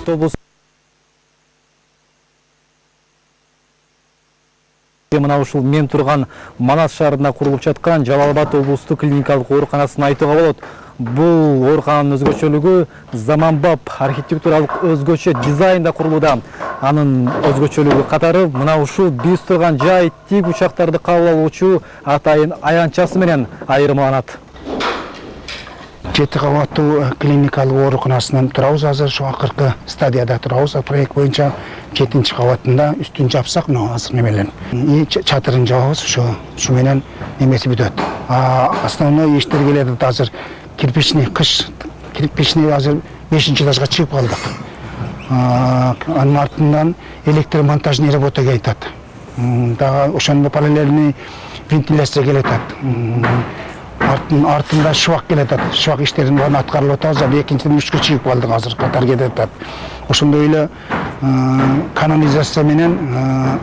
облусу мына ушул мен турган Манас шаарында курулуп жаткан Жалал Абад облустук клиникалык ооруканасын айтууга болот. Бул оорукананын өзгөчөлүгү заманбап архитектуралык өзгөчө дизайнда курулууда. Анын өзгөчөлүгү катары мына ушул биз турган жай тик учактарды кабыл алуучу атайын аянтчасы менен айырмаланат. 7 кабаттуу клиникалык ооруканасынан турабыз. Азыр ошо акыркы стадияда турабыз. Проект боюнча 7-чи кабатында үстүн жапсак, мына азыр немелер. Чатырын жабабыз, ушу менен немеси бүтөт. Основной иштер келет азыр. Кирпичный азыр 5-этажга чыгып калдык. Анын артынан электромонтажный работа кетет. Дагы ошондо параллельный вентиляция келет. Артында шыбак келет. Шыбак иштерин баарын аткарылып атабыз. Экинчиден 3-кө чыгып калдык, азыр катар кетет. Ошондой эле канализация менен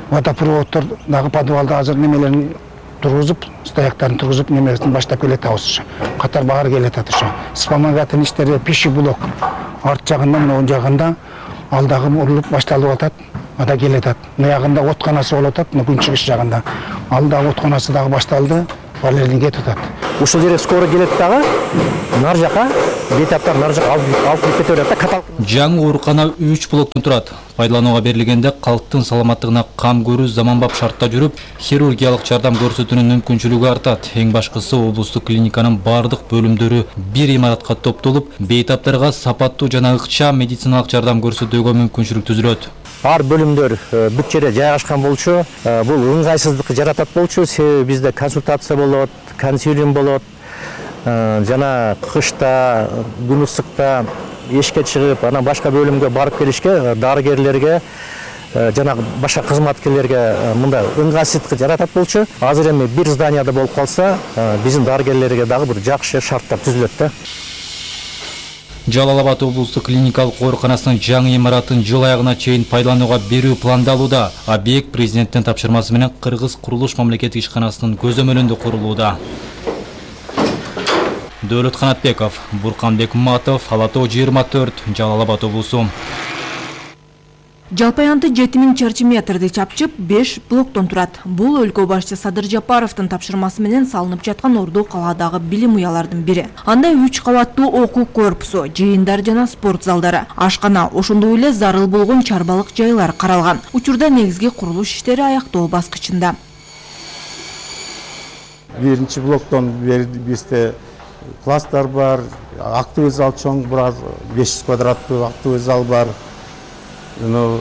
водопроводдор дагы подвалда азыр немелерин тургузуп, стояктарын тургузуп, немесин баштап келатабыз. Катар баары келет ошо. Вспомогательный иштери пищеблок арт жагында, мына оң жагында алдагы урулуп башталып атат. Ада келет. Мыягында отканасы болуп атат, күн чыгыш жагында. Алдагы отканасы дагы башталды. Балерин кетип атат. Ушул жерге скоро келет дагы. Нар жака бейтаптар нар жака алып кетип атат. Жаңы оорукана 3 блоктон турат. Пайдаланууга берилгенде калктын саламаттыгына кам көрүү заманбап шартта жүрүп, хирургиялык жардам көрсөтүүнүн мүмкүнчүлүгү артат. Эң башкысы облустук клиниканын бардык бөлүмдөрү бир имаратка топтолуп, бейтаптарга сапаттуу жана ыкчам медициналык жардам көрсөтүүгө мүмкүнчүлүк түзүлөт. Ар бөлүмдөр бүт жерде жайгашкан болчу. Бул ыңгайсыздыкты жаратат болчу. Себеби бизде консультация болот, консилиум болот. Жана кышта, күн ысыкта эшикке чыгып, анан башка бөлүмгө барып келишке дарыгерлерге жана башка кызматкерлерге мындай ыңгайсыздык жаратат болчу. Азыр эми бир зданияда болуп калса, биздин дарыгерлерге дагы бир жакшы шарттар түзүлөт да. Жалал Абад облустук клиникалык ооруканасынын жаңы имаратын жыл аягына чейин пайдаланууга берүү пландалууда. Объект президенттин тапшырмасы менен Кыргыз курулуш мамлекеттик ишканасынын көзөмөлүндө курулууда. Дөөлөт Канатбеков, Бурканбек Матов, Ала Тоо 24, Жалал Абад облусу. Жалпы аянты 7000 чарчы метрди чапчып, 5 блоктон турат. Бул өлкө башчы Садыр Жапаровдун тапшырмасы менен салынып жаткан орду калаадагы билим уялардын бири. Анда 3 кабаттуу окуу корпусу, жыйындар жана спорт залдары, ашкана, ошондой эле зарыл болгон чарбалык жайлар каралган. Учурда негизги курулуш иштери аяктоо баскычында. Биринчи блоктон бизде класстар бар, актовый зал чоң, 500 квадраттуу актовый зал бар.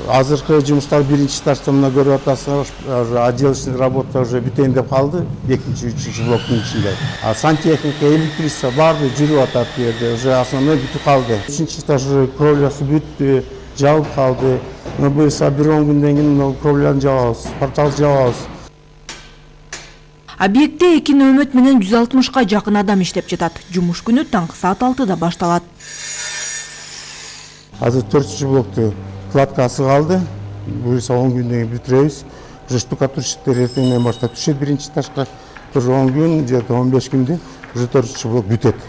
Азыркы жумуштар биринчи этажда мына көрүп атасыздар, отделочный работа уже бүтөйүн деп калды, 2-3 блоктун ичинде. Сантехника, электричество баары жүрүп атат бу жерде, уже основной бүтүп калды. 3-чы этаж кровлясы бүттү, жабылып калды. Буюрса бир 10 күндөн кийин кровляны жабабыз, портал жабабыз. Объектте 2 нөөмөт менен 160га жакын адам иштеп жатат. Жумуш күнү таңкы саат 6-да башталат. Азыр 4-чү блокту кладкасы калды. Буюрса 10 күндөн кийин бүтүрөбүз. Уже штукатурщиктер эртеңден баштап түшөт биринчи этажга. Бир 10 күн, же 15 күндө уже 4-чү блок бүтөт.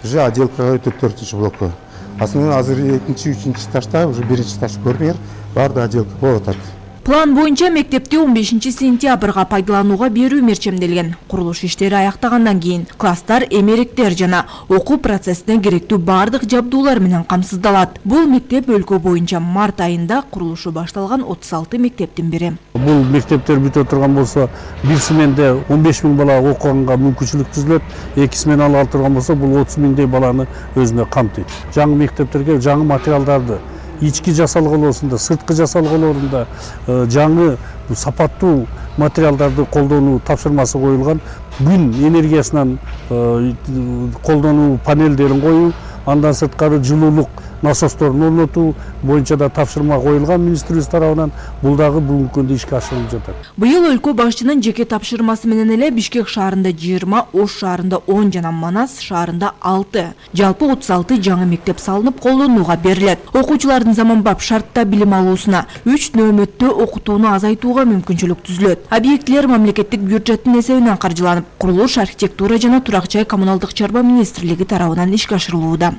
Уже отделкага өтөт 4-чү блокко. Асынан азыр 2-3 этажда уже биринчи этаж көрүнөр, баардык отделка болуп атат. План боюнча мектепти 15 сентябрга пайдаланууга берүү мерчемделген. Курулуш иштери аяктагандан кийин класстар, эмеректер жана окуу процессине керектүү бардык жабдуулар менен камсыздалат. Бул мектеп өлкө боюнча март айында курулушу башталган 36 мектептин бири. Бул мектептер бүтө турган болсо, бир сменде 15 000 бала окуганга мүмкүнчүлүк түзүлөт. 2 смена ала турган болсо, бул 30 000 баланы өзүнө камтыйт. Жаңы мектептерге жаңы материалдарды ички жасалгылоосунда, сырткы жасалгылоорунда жаңы сапаттуу материалдарды колдонуу тапшырмасы коюлган. Күн энергиясынан колдонуу панелдерин коюу, андан сырткары жылуулук насосторун орнотуу боюнча да тапшырма коюлган министрлик тарабынан. Бул дагы бүгүнкү күндө ишке ашырылып жатат. Быйыл өлкө башчынын жеке тапшырмасы менен эле Бишкек шаарында 20, Ош шаарында 10 жана Манас шаарында 6, жалпы 36 жаңы мектеп салынып колдонууга берилет. Окуучулардын заманбап шартта билим алуусуна 3 нөөмөттө окутууну азайтууга мүмкүнчүлүк түзүлөт. Объектилер мамлекеттик бюджеттин эсебинен каржыланып, курулуш, архитектура жана турак жай коммуналдык чарба министрлиги тарабынан ишке ашырылууда.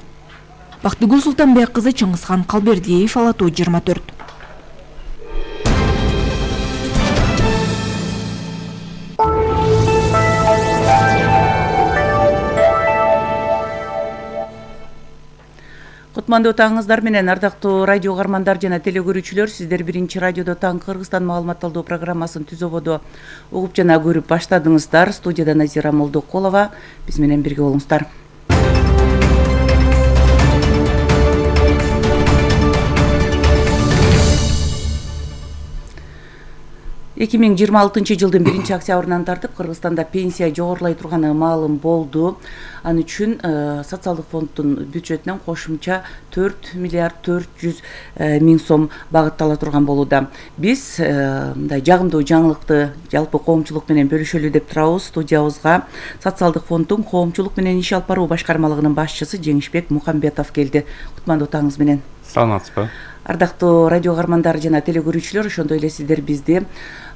Бактыгүл Султанбек кызы, Чыңгызхан Калбердиев, Ала Тоо 24. Кутмандуу таңыңыздар менен, ардактуу радио каармандар жана телекөрүүчүлөр, сиздер биринчи радиодо таң Кыргызстан маалыматталдоо программасын түзөбодо угуп жана көрүп баштадыңыздар. Студияда Назира Молдокулова, биз менен бирге болуңуздар. Эки миң жыйырма алтынчы жылдын 1 октябрынан тартып Кыргызстанда пенсия жогорулай турганы маалым болду. Ал үчүн социалдык фонддун бюджетинен кошумча 4 миллиард 400 миң сом багыттала турган болууда. Биз мындай жагымдуу жаңылыкты жалпы коомчулук менен бөлүшөлү деп турабыз. Студиябызга социалдык фонддун коомчулук менен иш алып баруу башкармалыгынын башчысы Жеңишбек Мухамбетов келди. Кутмандуу таңыңыз менен. Саламатсызбы? Ардактуу радио каармандар жана телекөрүүчүлөр, ошондой эле сиздер бизди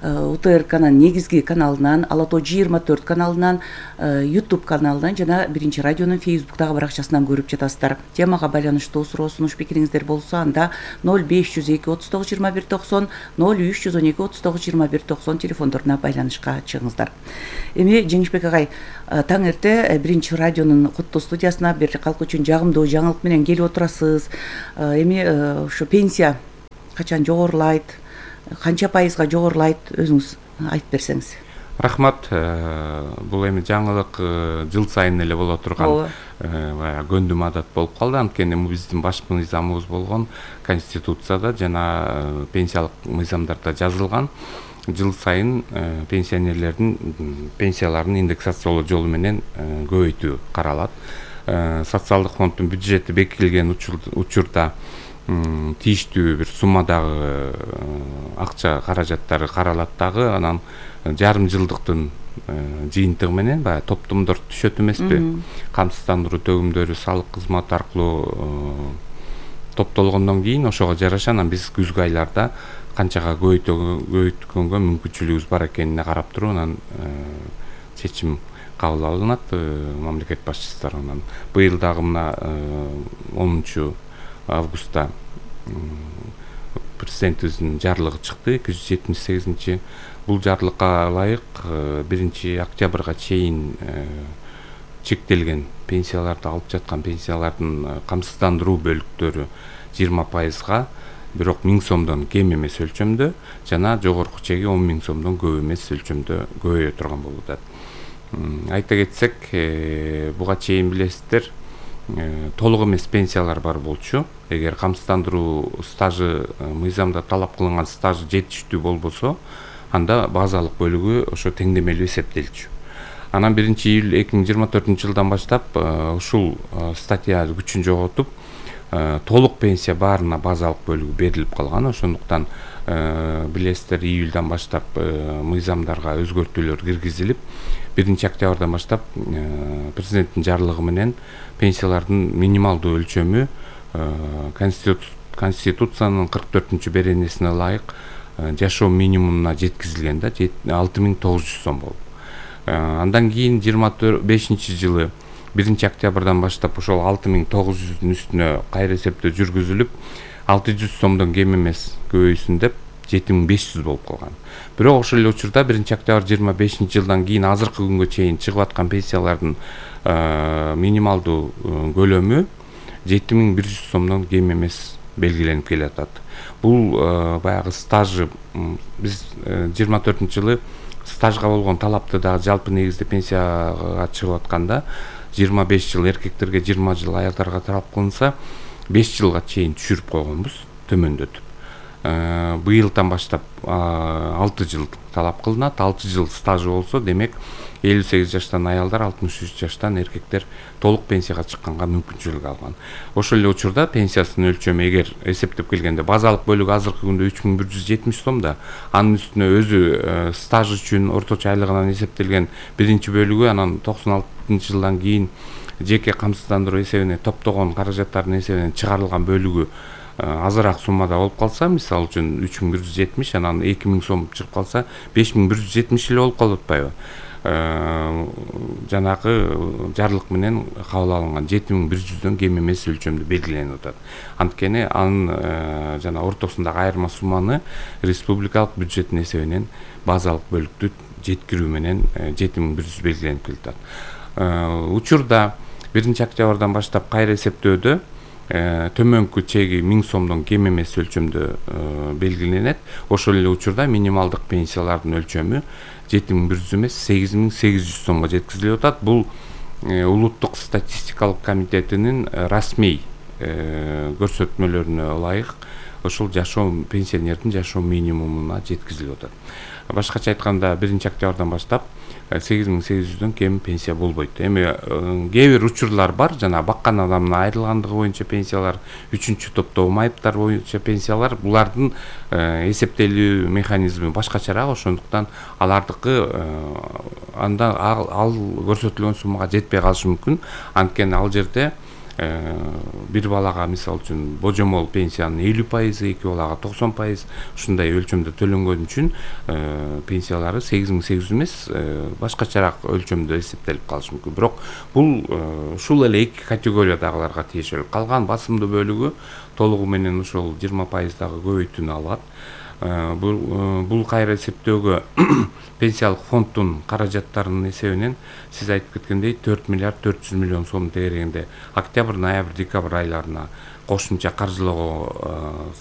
УТРКнын негизги каналынан, Ала Тоо 24 каналынан, YouTube каналынан жана биринчи радионун Facebook'тагы баракчасынан көрүп жатасыздар. Темага байланыштуу суроо сунуш пикириңиздер болсо, анда 0502 39 21 90, 0312 39 21 90 телефондоруна байланышка чыгыңыздар. Эми Жеңишбек агай, таң эрте биринчи радионун куттуу студиясына бир калк үчүн жагымдуу жаңылык менен келип отурасыз. Эми ушу пенсия качан жогорулайт, канча пайызга жогорулайт, өзүңүз айтып берсеңиз. Рахмат. Бул эми жаңылык жыл сайын эле боло турган көндүм адат болуп калды. Анткени биздин баш мыйзамыбыз болгон Конституцияда жана пенсиялык мыйзамдарда жазылган. Жыл сайын пенсионерлердин пенсияларын индексациялоо жолу менен көбөйтүү каралат. Социалдык фонддун бюджети бекитилген учурда тийиштүү бир суммадагы акча каражаттары каралат дагы, анан жарым жылдыктын жыйынтыгы менен баягы топтомдор түшөт эмеспи? Камсыздандыруу төгүмдөрү салык кызматы аркылуу топтолгондон кийин ошого жараша анан биз күзгү айларда канчага көбөйткөнгө мүмкүнчүлүгүбүз бар экенине карап туруп анан чечим кабыл алынат мамлекет башчысы тарабынан. Быйыл дагы мына 10 августта президентибиздин жарлыгы чыкты, 278. Бул жарлыкка ылайык 1 октябрга чейин чектелген пенсияларды алып жаткан пенсиялардын камсыздандыруу бөлүктөрү 20%, бирок 1000 сомдон кем эмес өлчөмдө жана жогорку чеги 10 000 сомдон көп эмес өлчөмдө көбөйө турган болууда. Айта кетсек, буга чейин билесиздер, толук эмес пенсиялар бар болчу. Эгер камсыздандыруу стажы мыйзамда талап кылынган стажы жетиштүү болбосо, анда базалык бөлүгү ошо теңдемелүү эсептелчү. Анан 1 июль 2024 жылдан баштап ушул статья күчүн жоготуп, толук пенсия баарына базалык бөлүгү берилип калган. Ошондуктан билесиздер, июльдан баштап мыйзамдарга өзгөртүүлөр киргизилип, 1 октябрдан баштап президенттин жарлыгы менен пенсиялардын минималдуу өлчөмү Конституциянын 44 беренесине ылайык жашоо минимумуна жеткизилген да, 6900 сом болуп. Андан кийин 25 жылы 1 октябрдан баштап ошол 6900-дун үстүнө кайра эсептөө жүргүзүлүп, 600 сомдон кем эмес көбөйсүн деп 7500 болуп калган. Бирок ошол эле учурда 1 октябрь 25 жылдан кийин азыркы күнгө чейин чыгып аткан пенсиялардын минималдуу көлөмү 7100 сомдон кем эмес белгиленип келатат. Бул баягы стажы биз 24 жылы стажга болгон талапты дагы жалпы негизде пенсияга чыгып атканда 25 жыл эркектерге, 20 жыл аялдарга талап кылынса, 5 жылга чейин түшүрүп койгонбуз, төмөндөтүп. Быйылдан баштап 6 жыл талап кылынат. 6 жыл стажы болсо, демек 58 жаштан аялдар, 63 жаштан эркектер толук пенсияга чыкканга мүмкүнчүлүк алган. Ошол эле учурда пенсиясынын өлчөмү эгер эсептеп келгенде базалык бөлүгү азыркы күндө 3170 сом да, анын үстүнө өзү стаж үчүн орточо айлыгынан эсептелген биринчи бөлүгү, анан 96 жылдан кийин жеке камсыздандыруу эсебине топтогон каражаттардын эсебинен чыгарылган бөлүгү азыраак суммада болуп калса, мисалы үчүн 3170, анан 2000 сом чыгып калса 5170 эле болуп калып атпайбы? жанагы жарлык менен кабыл алынган 7100дөн кем эмес өлчөмдө белгиленип атат. Анткени анын жана ортосундагы айырма сумманы республикалык бюджеттин эсебинен базалык бөлүктү жеткирүү менен 7100 белгиленип келатат. Учурда 1-октябрдан баштап кайра эсептөөдө төмөнкү чеги 1000 сомдон кем эмес өлчөмдө белгиленет. Ошол эле учурда минималдык пенсиялардын өлчөмү 7100 эмес 8800 сомго жеткизилип атат. Бул улуттук статистикалык комитетинин расмий көрсөтмөлөрүнө ылайык ошол жашоо пенсионердин жашоо минимумуна жеткизилип атат. Башкача айтканда 1-октябрдан баштап 8800дөн кем пенсия болбойт. Эми кээ бир учурлар бар, жана баккан адамдын айрылгандыгы боюнча пенсиялар, 3-чү топтогу майыптар боюнча пенсиялар, булардын эсептелүү механизми башкачараак, ошондуктан алардыкы анда ал көрсөтүлгөн суммага жетпей калышы мүмкүн. Анткени ал жерде бир балага мисалы үчүн божомол пенсиянын 50%, 2 балага 90% ушундай өлчөмдө төлөнгөн үчүн пенсиялары 8800 эмес, башкачараак өлчөмдө эсептелип калышы мүмкүн. Бирок бул ушул эле эки категориядагыларга тиешелүү. Калган басымдуу бөлүгү толугу менен ошол 20% дагы көбөйтүүнү алат. Бул кайра эсептөөгө пенсиялык фонддун каражаттарынын эсебинен сиз айтып кеткендей 4 миллиард 400 миллион сом тегерегинде октябрь, ноябрь, декабрь айларына кошумча каржылоого